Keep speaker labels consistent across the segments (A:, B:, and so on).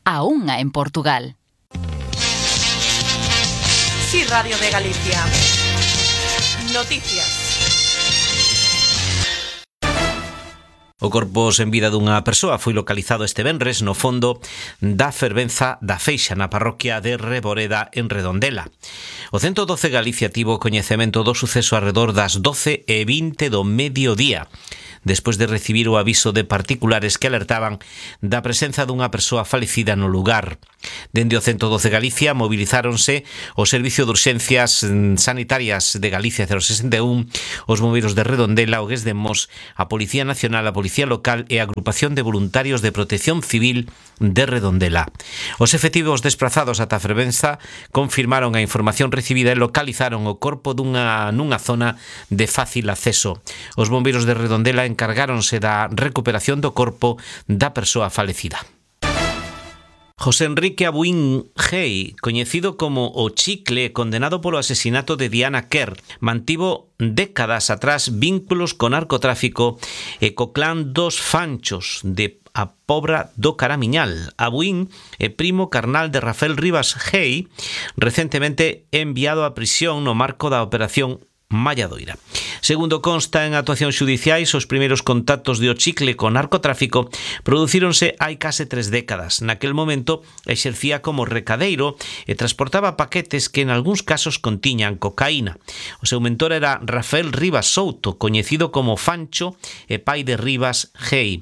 A: a unha en Portugal.
B: Sí, Radio de Galicia. Noticias.
C: O corpo sen vida dunha persoa foi localizado este venres no fondo da fervenza da Feixa na parroquia de Reboreda en Redondela. O 112 Galicia tivo coñecemento do suceso arredor das 12:20 do mediodía, despois de recibir o aviso de particulares que alertaban da presenza dunha persoa falecida no lugar. Dende o 112 Galicia movilizáronse o Servicio de Urxencias Sanitarias de Galicia 061, os bombeiros de Redondela, o GES de Mos, a Policía Nacional, a Policía Local e a Agrupación de Voluntarios de Protección Civil de Redondela. Os efectivos desprazados ata a fervenza confirmaron a información recibida e localizaron o corpo nunha zona de fácil acceso. Os bombeiros de Redondela encargáronse da recuperación do corpo da persoa falecida. José Enrique Abuín Gei, coñecido como o Chicle, condenado polo asesinato de Diana Kerr, mantivo décadas atrás vínculos co narcotráfico e co clan dos Fanchos de a Pobra do Caramiñal. Abuín é primo carnal de Rafael Rivas Gei, recentemente enviado a prisión no marco da Operación Malladoira. Segundo consta en actuacións xudiciais, os primeiros contactos de o Chicle con narcotráfico producíronse hai case 3 décadas. Naquel momento exercía como recadeiro e transportaba paquetes que en algúns casos contiñan cocaína. O seu mentor era Rafael Rivas Souto, coñecido como Fancho e pai de Rivas Gei.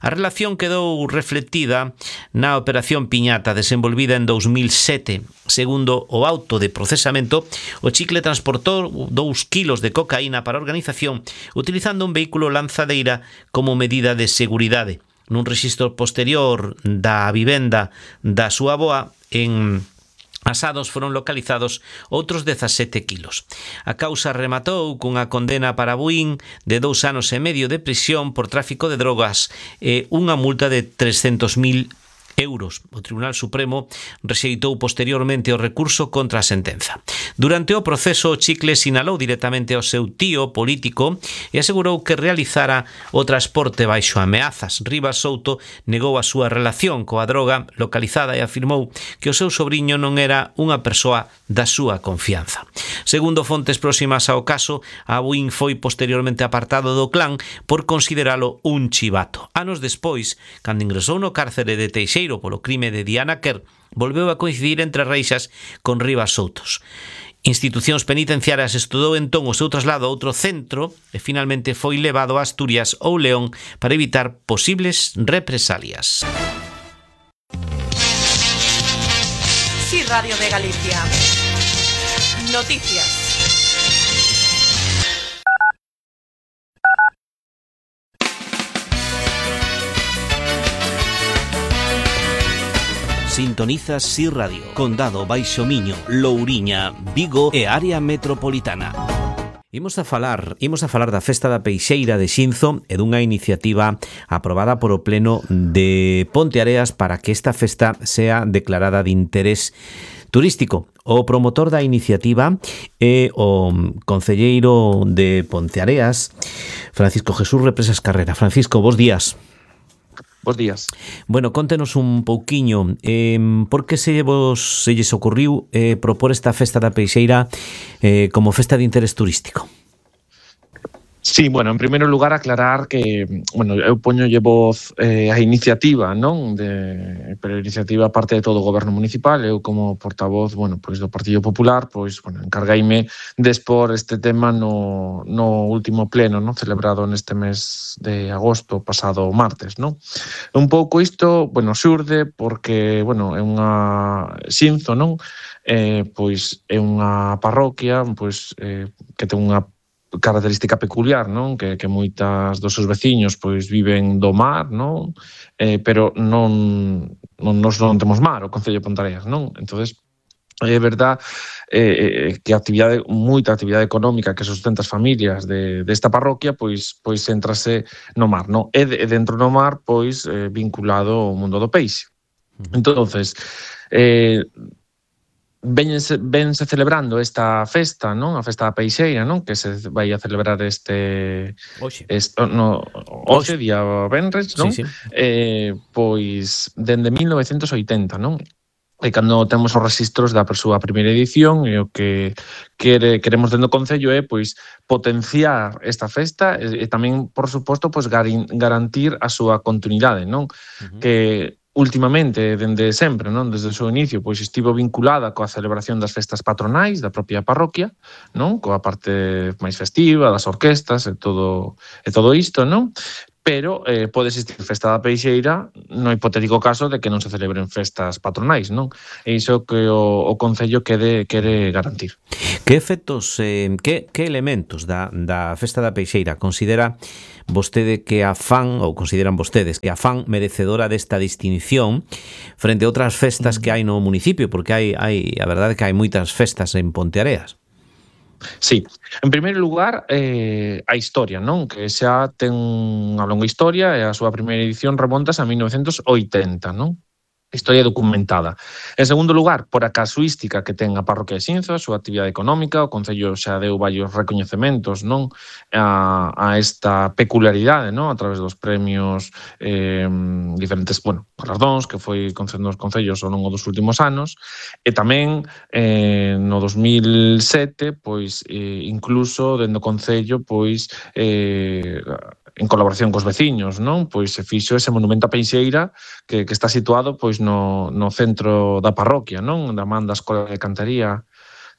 C: A relación quedou reflectida na Operación Piñata, desenvolvida en 2007. Segundo o auto de procesamento, o Chicle transportou 2 kilos de cocaína para a organización utilizando un vehículo lanzadeira como medida de seguridade. Nun rexistro posterior da vivenda da súa avoa en Asados foron localizados outros 17 kilos. A causa rematou cunha condena para Abuín de 2 anos e medio de prisión por tráfico de drogas e unha multa de 300.000 euros. O Tribunal Supremo rexeitou posteriormente o recurso contra a sentenza. Durante o proceso, o Chicle sinalou directamente ao seu tío político e asegurou que realizara o transporte baixo ameazas. Rivas Souto negou a súa relación coa droga localizada e afirmou que o seu sobriño non era unha persoa da súa confianza. Segundo fontes próximas ao caso, Abuín foi posteriormente apartado do clan por consideralo un chivato. Anos despois, cando ingresou no cárcere de Teixeiro polo crime de Diana Kerr, volveu a coincidir entre reixas con Rivas Soutos. Institucións penitenciarias estudou entón o seu traslado a outro centro e finalmente foi levado a Asturias ou León para evitar posibles represalias.
B: Sí, Radio de Galicia. Noticias.
C: Sintonizas Si Radio, Condado Baixo Miño, Louriña, Vigo e área metropolitana. Imos a falar da Festa da Peixeira de Xinzo e dunha iniciativa aprobada por o Pleno de Ponteareas para que esta festa sea declarada de interés turístico. O promotor da iniciativa é o concelleiro de Ponteareas, Francisco Jesús Represas Carrera. Francisco, bos días.
D: Bos días.
C: Bueno, contenos un pouquiño por que se lles ocurriu propor esta Festa da Peixeira como festa de interés turístico.
D: Sí, bueno, en primeiro lugar aclarar que, bueno, eu poñolle voz a iniciativa, non? Pero a iniciativa parte de todo o goberno municipal, eu como portavoz, bueno, pois do Partido Popular, pois, bueno, encargueime de expor este tema no último pleno, non? Celebrado neste mes de agosto, pasado martes, non? Un pouco isto, bueno, xurde porque, bueno, é unha Xinzo, non? Pois é unha parroquia, pois que ten unha característica peculiar, non? Que moitas dos seus veciños pois viven do mar, non? Pero non temos mar, o Concello de Ponteareas, non? Entonces, é verdad que moita actividade económica que sustenta as familias desta parroquia pois entrase no mar, non? E dentro do mar pois vinculado ao mundo do peixe. Entonces, vense celebrando esta festa, non? A festa da Peixeira, non? Que se vai a celebrar hoxe, día venres, non?
C: Sí, sí.
D: Pois dende 1980, non? E cando temos os registros da súa primeira edición, e o que queremos dentro do Concello é pois potenciar esta festa e tamén, por suposto, pois garantir a súa continuidade, non? Que ultimamente, dende sempre, non, desde o seu inicio, pois estivo vinculada coa celebración das festas patronais da propia parroquia, non, coa parte máis festiva, das orquestas e todo isto, non? Pero pode existir festa da Peixeira no hipotético caso de que non se celebren festas patronais, non? E iso que o Concello quere garantir.
C: Que efectos, que elementos da festa da Peixeira considera vostede que a fan, ou consideran vostedes que a fan merecedora desta distinción frente a outras festas que hai no municipio? Porque a verdade é que hai moitas festas en Ponteareas.
D: Sí, en primeiro lugar, a historia, non? Que xa ten unha longa historia e a súa primeira edición remontas a 1980, non? Historia documentada. En segundo lugar, por a casuística que ten a parroquia de Xinzo, a súa actividade económica, o Concello xa deu varios recoñecementos, non, a esta peculiaridade, non, a través dos premios, diferentes, galardóns que foi concedendo os concellos ao longo dos últimos anos, e tamén no 2007, pois incluso dentro do Concello, pois en colaboración cos veciños, non? Pois se fixo ese monumento a Peixeira que está situado pois no centro da parroquia, non? Da man da Escola de Cantaría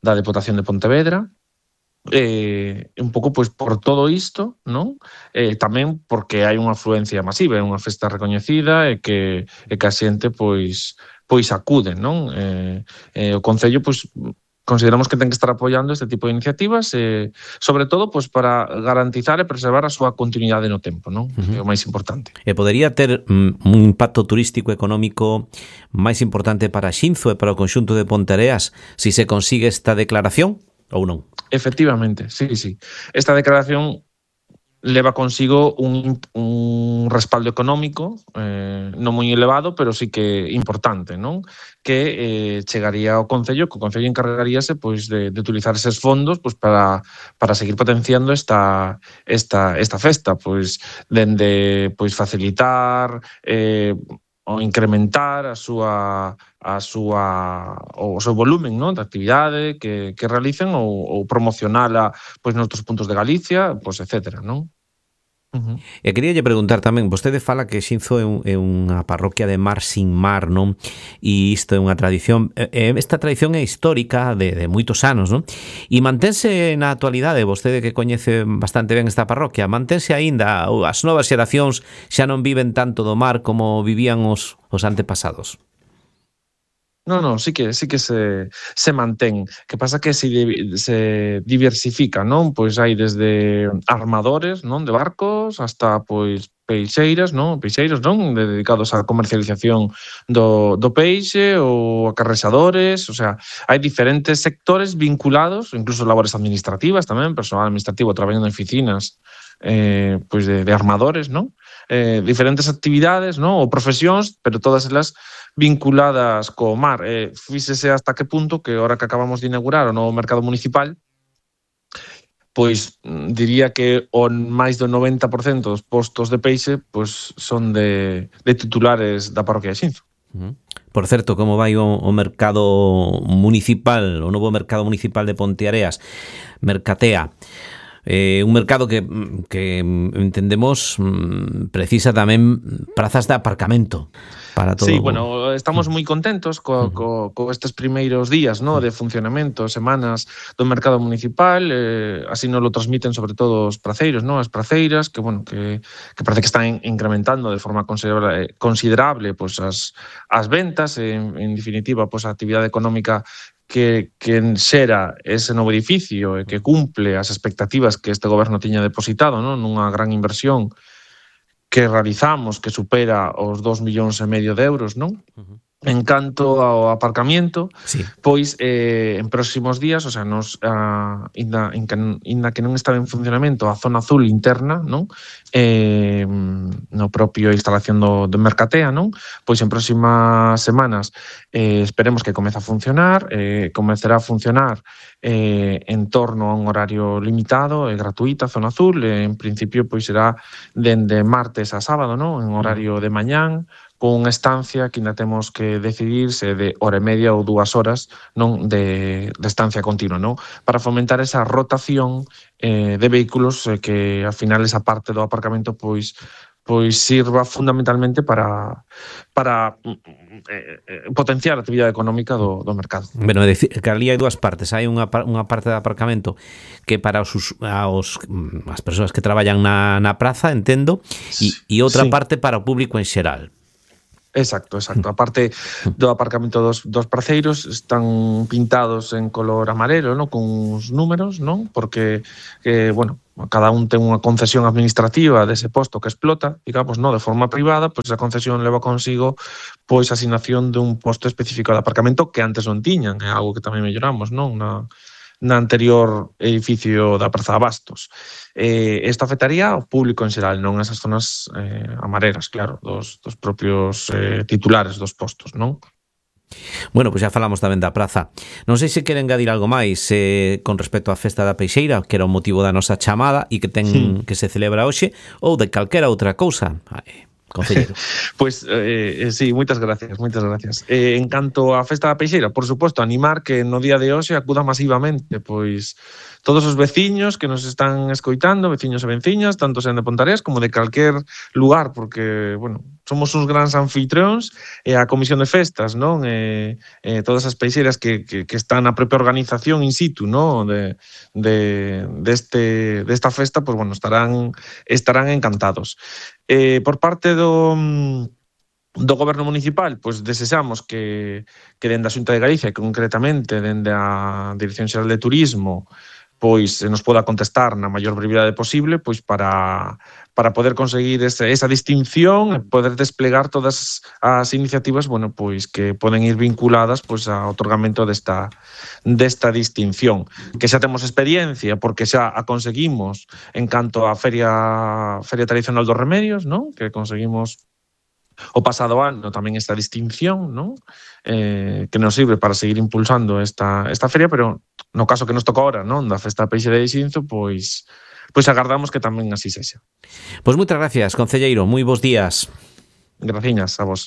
D: da Deputación de Pontevedra. Un pouco pois por todo isto, non? Tamén porque hai unha afluencia masiva, é unha festa recoñecida e que a xente pois acude, non? O Concello pois consideramos que ten que estar apoiando este tipo de iniciativas, sobre todo pois para garantizar e preservar a súa continuidade no tempo, non? Que é o máis importante.
C: E podería ter un impacto turístico económico máis importante para Xinzo e para o conxunto de Ponteareas si se consigue esta declaración ou non?
D: Efectivamente, sí. Esta declaración leva consigo un respaldo económico non moi elevado, pero sí que importante, non? Que chegaría ao Concello, que o Concello encargaríase pois de utilizar eses fondos pois para seguir potenciando esta festa, pois dende pois facilitar ou incrementar o seu volumen, non, de actividade que realicen ou promocionala pois noutros puntos de Galicia, pois etcétera, non?
C: E queríalle preguntar tamén, vostede fala que Xinzo é unha parroquia de mar sin mar, non? E isto é unha tradición, esta tradición é histórica de moitos anos, non? E mantense na actualidade, vostede que coñece bastante ben esta parroquia, mantense aínda, as novas xeracións xa non viven tanto do mar como vivían os antepasados?
D: Non, sí que se mantén. Que pasa que se diversifica, non? Pois hai desde armadores, non, de barcos, hasta pois peixeiros, non, dedicados á comercialización do peixe, ou acarrexadores, o sea, hai diferentes sectores vinculados, incluso labores administrativas tamén, personal administrativo traballando en oficinas pois de armadores, non? Diferentes actividades, non? Ou profesións, pero todas elas vinculadas co mar. Fíxese hasta que punto que ahora que acabamos de inaugurar o novo mercado municipal, pois diría que o máis do 90% dos postos de peixe pois son de titulares da parroquia de Xinzo.
C: Por certo, como vai o mercado municipal, o novo mercado municipal de Ponteareas, Mercatea? Un mercado que entendemos precisa tamén prazas de aparcamento para todo.
D: Sí, estamos moi contentos co estes primeiros días, no, de funcionamento, semanas do mercado municipal, así nos lo transmiten sobre todo os praceiros, no, as praceiras, que parece que están incrementando de forma considerable pois as ventas, en definitiva, pois a actividade económica que xera ese novo edificio e que cumple as expectativas que este goberno tiña depositado, non, nunha gran inversión que realizamos, que supera os 2,5 millóns de euros, non? En canto ao aparcamiento,
C: Sí.
D: pois en próximos días, o sea, inda que non estaba en funcionamento a zona azul interna, non? No propio instalación do Mercatea, non? Pois en próximas semanas esperemos que comece a funcionar, comezará a funcionar en torno a un horario limitado e gratuito a zona azul, en principio pois será dende martes a sábado, non? En horario de mañán, con unha estancia que ainda temos que decidir se de hora e media ou 2 horas, non, de estancia continua, non? Para fomentar esa rotación de vehículos, que ao final esa parte do aparcamento pois sirva fundamentalmente para potenciar a actividade económica do mercado.
C: Bueno, é dicir, que ali hai dúas partes. Hai unha parte de aparcamento que para as persoas que traballan na praza, entendo, e outra
D: Sí.
C: parte para o público en xeral.
D: Exacto. A parte do aparcamento dos praceiros están pintados en color amarelo, non? Con uns números, non? Porque, bueno, cada un ten unha concesión administrativa dese posto que explota, digamos, non? De forma privada, pois a concesión leva consigo pois a asignación dun posto específico de aparcamento que antes non tiñan, é algo que tamén melloramos, non? Na anterior edificio da Praza de Abastos. Isto afectaría ao público en xeral, non esas zonas amarelas, claro, dos propios titulares dos postos, non?
C: Bueno, pois xa falamos tamén da praza. Non sei se quere engadir algo máis con respecto á Festa da Peixeira, que era o motivo da nosa chamada e que que se celebra hoxe, ou de calquera outra cousa. Concelleiro.
D: Pois, sí, moitas gracias. En canto á Festa da Peixeira, por suposto, animar que no día de hoxe acuda masivamente, pois todos os veciños que nos están escoitando, veciños e venciñas, tanto sean de Pontarés como de calquer lugar, porque, bueno, somos uns grans anfitrións e a Comisión de Festas, non? Todas as peixeiras que están na propia organización in situ, non? Desta festa, pois, bueno, estarán encantados. Por parte do Goberno Municipal, pois desexamos que dende a Xunta de Galicia, concretamente dende a Dirección Xeral de Turismo, pois nos poda contestar na maior brevidade posible, pois para poder conseguir esa distinción e poder desplegar todas as iniciativas, bueno, pois que poden ir vinculadas pois ao otorgamento desta distinción, que xa temos experiencia porque xa a conseguimos en canto á Feria Tradicional dos Remedios, non? Que conseguimos o pasado ano tamén esta distinción, non? Que nos sirve para seguir impulsando esta feria, pero no caso que nos toca ahora, non? Da Festa da Peixeira de Xinzo, pois agardamos que tamén así sexa.
C: Pois moitas gracias, concelleiro. Moi bons días.
D: Graciñas a vos.